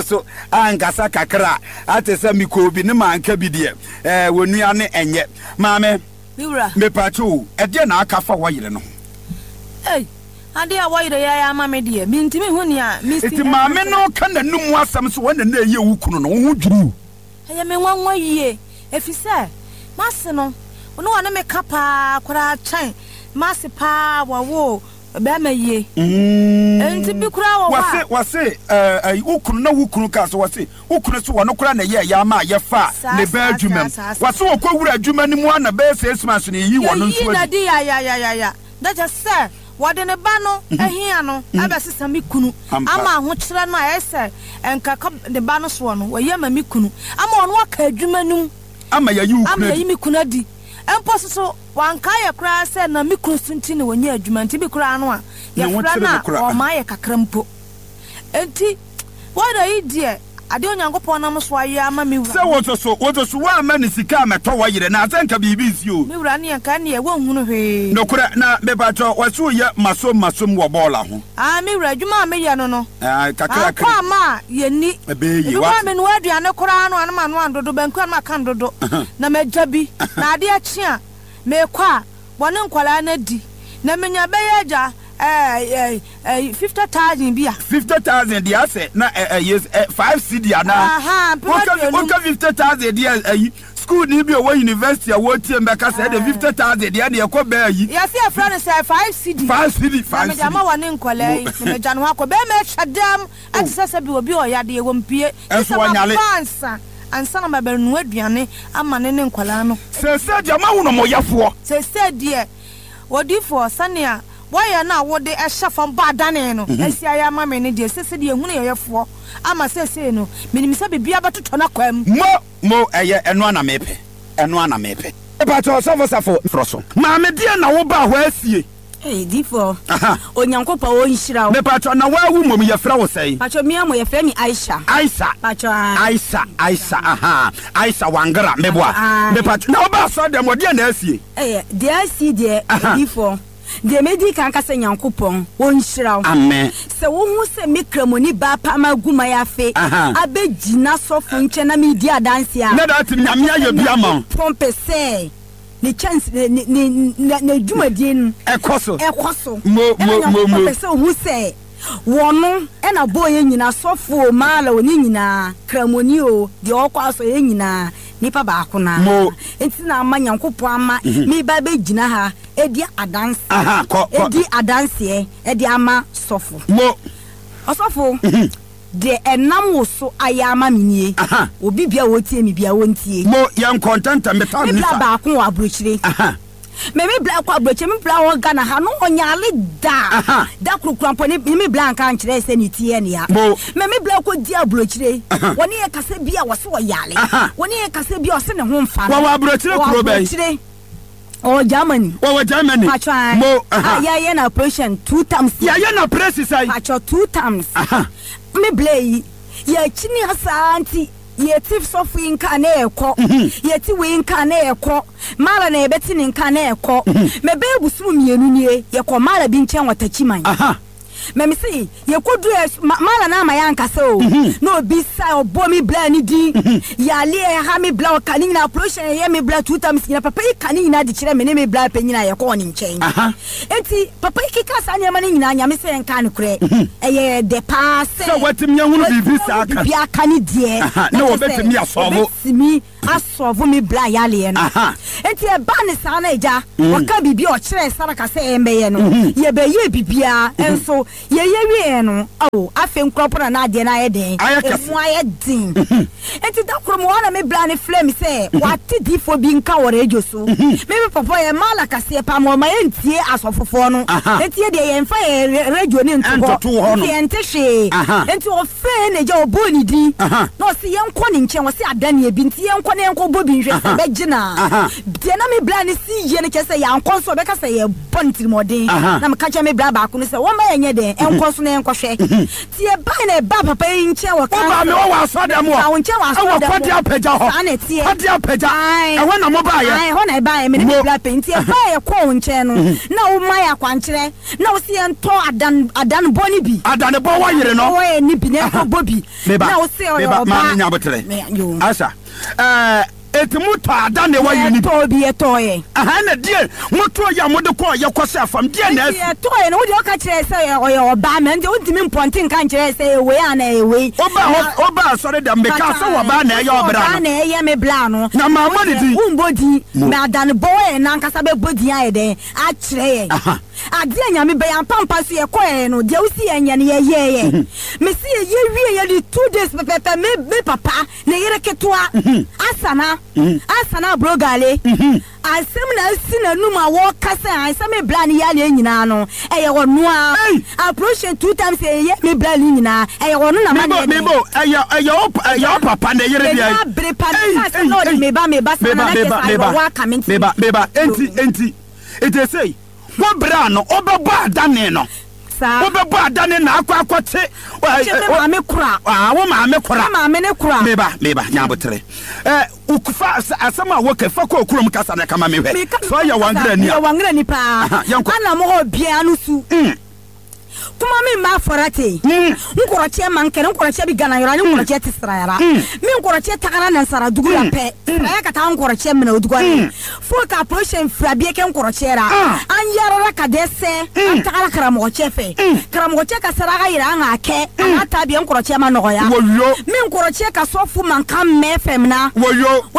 So ankasa kakra a, ate sɛ mekɔɔ bi ne manka bi deɛ, ɛɛ, wɔnua ne ɛnyɛ. Maame, Me wura. mepaakyɛw o, ɛdeɛn na aka fa wɔyere no ho? Ei, adeɛ a wɔyere yɛ ama me deɛ, mentumi nhu nea mesi Enti ɛka maame nkyerɛ. no reka n'anom asɛm sɛ wɔn na na ɛyɛ wo kunu no, wo ho dwiri wo? Ɛyɛ me nwanwa yie, ɛfiri sɛ m'ase no, na ɔne me ka paa koraa kyɛn m'ase paa a wɔwoo bɛrima yie. Enti bi koraa wɔ hɔ a. Wɔse, wɔse, ɛɛ, ɛyi, wo kunu, na wo kunu kaa sɛ, wɔse, wo kunu se wɔno koraa na ɛyɛɛ yɛ ama a yɛfaa Saa, ne baa saa, adwuma saa, mu. saa, saa. Wɔse wɔkɔ wura adwuma no mu ara na bɛyɛ 6 months no yɛyii wɔno Yɛyii nso no adi. adi yayayayaya, na kyerɛ sɛ wɔde ne ba no ahia no abɛsesa me kunu ama ahokyerɛ no a ɛyɛ sɛ nka ɛka ne ba no soɔ no, wɔayi ama me kunu ama ɔno aka adwuma no mu Ama yɛayi wo ama kunu yɛayi adi. me kunu adi. Mpo nso so, wankae yɛ koraa sɛ na me kunu so nti na ɔnya adwuma nti bi koraa no a, Ne ho yɛfrɛ kyere no no a, koraa. ɔmma yɛ kakra mpo. Enti, wɔda yi deɛ, adeɛ Onyankopɔn nam so ayɛ ama me wura Sɛ no. wo nso so, wo nso so woamma no sika ammɛtɔ wo yere no a, sɛ nka biribi nsi o. Me wura ne nka ɛnneɛ wonhunu hwee. Nokorɛ, na mepakyɛw, wɔse woyɛ masom masom wɔ bɔɔla ho. Aane, me wura, adwuma a meyɛ no no, Aane, mankɔ kakrakra. amma a yɛnni. Ɛbɛyɛ yie, Ebi koraa woate. menoa aduane koraa no a na manoa no dodo, banku a na maka no dodo, na magya bi, na adeɛ kye a, mekɔ a, wɔne nkwadaa no adi, na menya bɛyɛ agya ɛɛ ɛɛ 50,000 bi a. 50,000 deɛ asɛ na ɛyɛ 5 cedi anaa? Ahaa, mpem Woka 50. Woka 50,000 deɛ, ayi, school ni bi a ɔwɔ university a wɔretie mu bɛka sɛ ɛde 50,000 deɛ ɛne ɛkɔ bɛɛ ayi. Yɛse yɛfrɛ no sɛ 5 cedi. 5 cedi. Na 5 mede cedi. ama wɔne nkwadaa yi, na magya ne ho akɔ. Bɛrima atwa dam ɛte sɛ sɛ bi obi a ɔyɛ adeɛ wɔ mpie. Gye Ɛnso sɛ wɔnyale. maba ansa na mabɛnoa aduane ama ne ne nkwadaa no. Seesei deɛ moahu no mo yɛfoɔ. Seesei deɛ, odiyifoɔ, sɛnea wɔyɛ no a wode hyɛ fam bɔ adane no asi ayɛ ama me no deɛ, seesei deɛ yɛhunu yɛn yɛfoɔ ama seesei no, menim sɛ biribiara bɛtotɔ n'akwan mu. Mo, mo, ɛyɛ, ɛno ara na mepɛ, ɛno ara na mepɛ. Mepakyɛ ɔsɔfo Safo frɔ so. Maame deɛn na wo baa hɔ asie? Ei difoɔ Onyankopɔn ɔnhyira wo. Mepakyɛ na waa wo mmom yɛfrɛ wo sɛn? Pakyɛ mea mo yɛfrɛ me Aisha. Aisha. Pakyɛ ae. Aisha Aisha ahaa Aisha Wangara meboa. Pakyɛ ae. Mepakyɛ na wo baa asɔre dɛm hɔ deɛn na asie? Ɛyɛ deɛ asie deɛ difoɔ deɛ medi kan ka sɛ Nyankopɔn ɔnhyira wo. Amen. Sɛ wo hu sɛ me kramoni baa paa magu mayafe abɛ gyina sɔfo nkyɛn na medi adanseɛ a. Na that Nyame ayɛ bi ama wo. Nyankopɔn pɛ sɛ. Ne kyɛnse ne ne ne ne n'adwumadie no. Ɛkɔ so. Ɛkɔ so. Mo Ɛna mo mo Nyankopɔn mo. pɛ sɛ ohu sɛ wɔno ɛna bɔɔ yɛn nyinaa, sɔfo o, maala o, ne nyinaa, kramoni o, deɛ ɔkɔ asɔre, yɛn nyinaa nipa baako no ara. Mo. Nti na ama Nyankopɔn ama meba abɛgyina ha adi adanse, Aha, kɔ kɔ. adi adanseɛ ɛde ama sɔfo. Mo. Ɔsɔfo. Deɛ ɛnam wo so ayɛ ama me nie. Obi biara a ɔretie me biara, ɔntie. Mo, yɛnkɔ ntɛmntɛm, me time Me ni bra sa. baako wɔ aburokyire. Me me bra kɔ aburokyire, me bra wɔ Ghana ha no ɔnyare da. Da koro kura mpo ne me bra nka nkyerɛ sɛ ne ti yɛ ne ya. Mo. Me me bra kɔ di aburokyire. Wɔne yɛ kasa bi a wɔse ɔyare. Wɔne yɛ kasa bi a ɔse ne ho nfa no. Wɔwɔ aburokyire Wɔwɔ kuro bɛn? aburokyire. Ɔwɔ Germany. Wɔwɔ Germany. Pacho ae. Mo, aha. A yɛayɛ no operation two times. Yɛayɛ no operation sɛn? Pacho two times. Aha. Me blɛ yi, yɛakyini ha saa nti yɛte sɔfo yi nka na yɛkɔ. Yɛte wei nka na yɛkɔ. Mara na yɛbɛte ne nka na yɛkɔ. Mɛbɛyɛ bosom 2 nie, yɛkɔ Mara bi nkyɛn wɔ Takyiman. Aha. Mɛ me se yɛkɔduru ɛ mala no ama yɛankasa o na obi sa ɔbɔ me bla ne din yale ɛha me bla ɔka ne nyinaa operation ɛyɛ me bla two times nyina papa yi ka ne nyinaa de kyerɛ me ne me bla panyin a yɛkɔɔ ne nkyɛn enti papa yi keka saa nneɛma no nyinaa Nyame sɛ yɛnka nokorɛ ɛyɛ dɛ paa sɛ sɛ watumi ahunu biribi saa ka biribi aka ne deɛ na wɔbɛtumi asɔvo wɔbɛtumi asɔvo me bla yaleɛ no. Enti ɛbaa ne saa na agya, ɔka biribi a ɔkyerɛɛ Saraka sɛ ɛmbɛyɛ no, yɛbɛyɛɛ biribiara, nso yɛyɛ wieɛ no, ao, afei nkorɔ mpo na na adeɛ no ayɛ dɛn? Ɛmu ayɛ den. Enti da koro mewɔ hɔ na me bla no frɛɛ me sɛ wate diifoɔ bi nka wɔ radio so. Me me papa ɔyɛ mala kaseɛ paa ma ɔma yɛntie asɔfofoɔ no. Enti yɛdeɛ yɛmfa yɛn radio no nto hɔ, nti yɛnte hwee. Enti Afei na agya ɔbɔɔ ne din, na ɔse yɛnkɔ ne nkyɛn, ɔse adaneɛ bi nti yɛnkɔ na yɛnkɔ bɔ bi nhwɛ sɛ ɛbɛgye no a. Deɛ na me bra no si yie no kyerɛ sɛ yɛankɔ nso ɔbɛka sɛ yɛbɔ no tirimɔden. Na meka kyerɛ me bra baako no sɛ wɔmma yɛnyɛ dɛn? dɛn ɛnkɔ so na yɛnkɔhwɛ. Nti yɛbae na yɛbaa papa yi nkyɛn wɔ Wobaa council. me hɔ wɔ asɔrdan mu hɔ. Mebaa wo nkyɛn wɔ Ɛwɔ asɔrdan mu Kɔde hɔ. Apagya hɔ. Saa na ɛteɛ. Kɔde Apagya. Ae. Ɛhɔ na mobaeɛ. Ae, ɛhɔ na yɛbaeɛ, me ne me Mo. bra panin. Nti yɛbaeɛ yɛkɔɔ wo nkyɛn no, na woma yɛn akwankyerɛ, na wose yɛntɔ adan, adanebɔ no bi. Adanebɔ wɔ yere no. Adanebɔ wɔ yɛ no bi, na yɛnkɔbɔ bi. Meba, Na wose ɔyɛ meba, ɔbaa. maame nya aboterɛ. Me, yoo. Asa, ɛɛ, eti mo tɔ ada ne wɔ yere no bi. Yɛtɔɔ bi, yɛtɔɔ yɛ. Aha, ɛna deɛ mo tɔɔ yɛ a mo de kɔɔ yɛ kɔ sɛ fam, deɛ na Eti asi? yɛtɔɔ yɛ no, wo deɛ woka kyerɛɛ sɛ ɔyɛ, ɔyɛ ɔbaa, mɛ ndeɛ wontumi mpɔnte nka nkyerɛ yɛ sɛ ɛyɛ wei anaa ɛyɛ wei. Wobaa hɔ, Na. wobaa asɔre dɛm, mekaa sɛ ɔbaa na ɛyɛ Wose ɔbra ɔbaa no. na ɛyɛ me bra no. Na mammɔ ne din. Wombɔ din, Mo. mɛ adanebɔ wɔ yɛ nankasa bɛbɔ din ayɛ dɛn akyerɛ yɛn. Aha. Adeɛ a Nyame bɛyɛ ampa ampa nso yɛkɔɛɛ no deɛ wosi yɛn nyɛ no yɛyɛɛyɛ. Mese yɛyɛ wie yɛde 2 days pɛpɛpɛ me me papa ne yere ketewa Asana Asana Abrogale asɛm na asi n'anum a wɔka sɛ an sɛ me bra ne yareɛ nyinaa no ɛyɛ ɔno a aprohyɛ 2 times yɛyɛ me bra ne nyinaa ɛyɛ ɔno na ma ne Mebo yɛ dɛn. mebo ɛyɛ ɛyɛ wo ɛyɛ wo papa ne yere deɛ. M'ani abere pa meka sɛ na ɔde me ba me ba saa na na kyerɛ sɛ awerɛhoɔ aka me nti. Meba meba enti enti enti sei. Wo berɛ a no wobɛbɔ adane no. Saa. Wobɛbɔ adane na akɔ akɔte. Kye me maame kora. Ah, wo maame kora. Me maame ne kora. Meba, meba, nya abotere. Eh, fa asɛm a woka fa kɔ kurom kasa na kama me hwɛ. Sɛ ɔyɛ wangrani a. Meyɛ wangrani paa. Yɛnkɔ. Ana mo hɔ biara no su. Kuma min b'a fɔra ten n kɔrɔcɛ man kɛnɛ n kɔrɔcɛ bɛ gana yɔrɔ ani n kɔrɔcɛ tɛ sirayara min kɔrɔcɛ tagara nansara dugu la pɛ siraya ka taa n kɔrɔcɛ minɛ o dugu la fo ka position fila bɛɛ kɛ n kɔrɔcɛ la an yaarala ka dɛsɛ an tagara karamɔgɔcɛ fɛ karamɔgɔcɛ ka saraka yira an k'a kɛ a n'a ta bɛɛ n kɔrɔcɛ ma nɔgɔya min kɔrɔcɛ ka sɔfu mankan mɛn fɛn min na o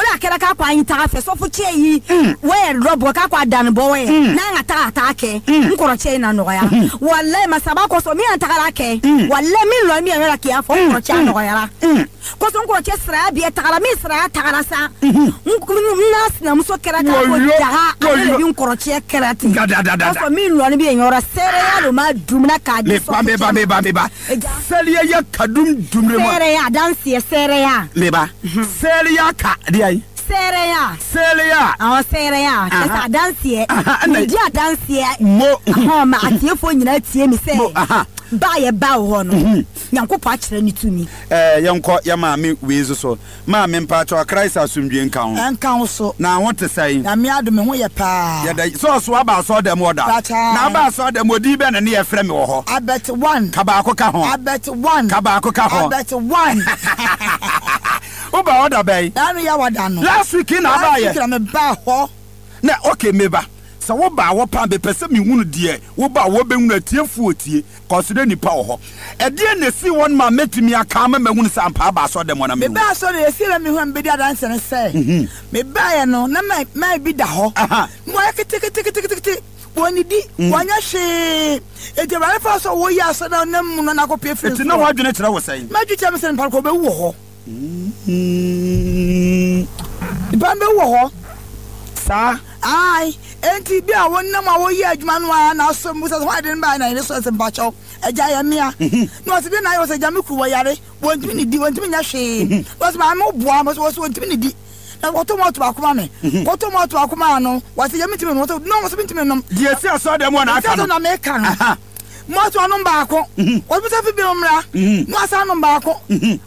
la a kɛra k'a ko an y'i taga fɛ sɔfu cɛ yi o yɛrɛ dɔ bɔ k'a ko a danni bɔ wɛ n'an ka taga a t'a kɛ n kɔrɔcɛ in na nɔgɔya walayi masaba kosɔn min an tagara kɛ walayi min lɔ min yɛrɛ k'i y'a fɔ n kɔrɔcɛ a nɔgɔyara kosɔn n kɔrɔcɛ siraya bɛɛ tagara min siraya tagara sa n n'a sinamuso kɛra k'a ko daga ale de bɛ n kɔrɔcɛ kɛra ten kosɔn min lɔni bɛ yen yɔrɔ seereya lo ma dumuna k'a di sɔfu cɛ ma meba sɛliya ya kadum dumre ma seereya danseɛ seereya meba sɛliya ka deɛ yi seereya sɛliya awɔ seereya kyɛ sɛ adanseɛ medi adanseɛ mo ahɔn ma atiefoɔ nyinaa tie mi sɛ ba yɛ ba wɔ hɔ no Nyankopɔn akyerɛ ne tumi. Ɛɛ yɛnkɔ yɛ maame wei nso so. Maame mpakyɛw Christ asomdwie nka wo. Ɛnka wo so. Na ho te sɛn? Nyame adom me ho yɛ paa. Yɛda sɛ ɔso aba asɔɔdɛm hɔ da. Pakyɛ. Na aba asɔɔdɛm hɔ din bɛn na ne yɛfrɛ me wɔ hɔ? Abet one. Ka baako ka ho. Abet one. Ka baako ka ho. Abet one. Woba hɔ da bɛn? Daano Yawada no. Last week na abaayɛ. Last week na me baa hɔ. Na okay meba. Sɛ wo ba hɔ paa mepɛ sɛ mehunu deɛ wo ba hɔ bɛhunu atiefoɔ tie cause na nipa wɔ hɔ. Ɛdeɛn na ɛsii hɔ no ma mɛtumi aka ama mahunu sɛ ampa aba asɔre dɛm hɔ na mehu. Mebaa asɔre no ɛsii na mehu a mebɛdi adanseɛ ne sɛ mebaeɛ no na man bi da hɔ na wayɛ keteketeketekete wɔnnidi wɔnyɛ hwee enti Awurade faa so a wɔyi asɔre no nam mu no na akɔpue firi Enti na soro. w'adwene kyerɛ wo sɛn? M'adwene kyerɛ me sɛ nipa no kɔ ɔbɛwu wɔ hɔ. Nipa no bɛwu wɔ hɔ. Saa. Ae, enti bi a wonam a woyɛ adwuma no ara na asɔ mu sɛ hwan de no bae na yere sɔre sɛ mpakyɛw, agya yɛ mmea. Na ɔse deɛ na ayɛ ɔsɛ agya me kuru wɔyare, wɔntumi nidi, wɔntumi nyɛ hwee. Na ɔse maame wo boa, ɔse wɔse wɔntumi nidi. Na wɔtɔ malt baako ma me, kɔtɔ malt baako maa no, wɔse agya mentumi nnom, ɔse no, ɔse mentumi nnom. Deɛ ɛsi asɔre dɛm hɔ na aka no. Ɛsi asɔre na meka no. Malt ɔnom baako, ɔse monsa fi binom mmra, na wasan anom baako,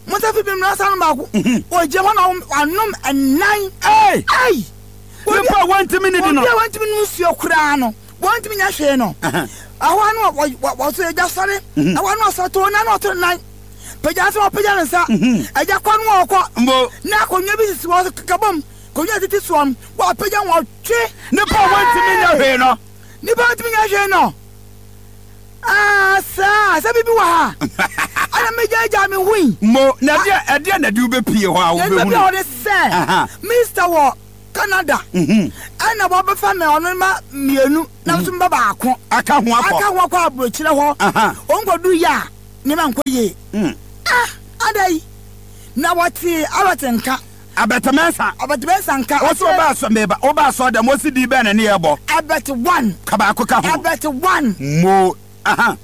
monsa fi binom mmra, na wasan anom baako. Ɔgyina hɔ na wanom nnan. Ei! Ei! Nipa a wɔntumi nnidi no. Obi a wɔntumi nnom nsuo koraa no, wɔntumi nyɛ hwee no. Ɛhɔ ara na wɔsɔ agya sɔre, ɛhɔ ara na ɔsɔre to nan na ɔto ne nan. Pagya nsa ɔpagya ne nsa. Agya kɔ no ɔkɔ. Na akonnwa bi sisi hɔ kabom, akonnwa a tete soɔ no, wɔapagya wɔtwe. Nipa a wɔntumi nyɛ hwee no. Nipa a wɔntumi nyɛ hwee no. Ah, saa, sɛ biribi wɔ ha. Ɛna megyaagyaa me ho yi. Mo, na ɛdeɛ, ɛdeɛ na ɛde wobɛpie hɔ a wobɛhunu. Ɛna bi a wɔde sɛ, Mister wɔ Canada. Ɛna wɔbɛfa me ɔno ma mmienu, na nso mba baako. Aka ho akɔ. Aka ho akɔ aburokyerɛ hɔ. Wɔn kɔdu yɛ a, nneɛma nkɔ yie. Ah, ada yi. Na wɔte Albert nka. Albert Mensah. Albert Mensah nka. Wɔsi ɔba asɔ meba ɔba asɔ dɛm wɔsi di bɛn na ne yɛ bɔ. Albert one. Ka baako ka ho. Albert one. Mo aha.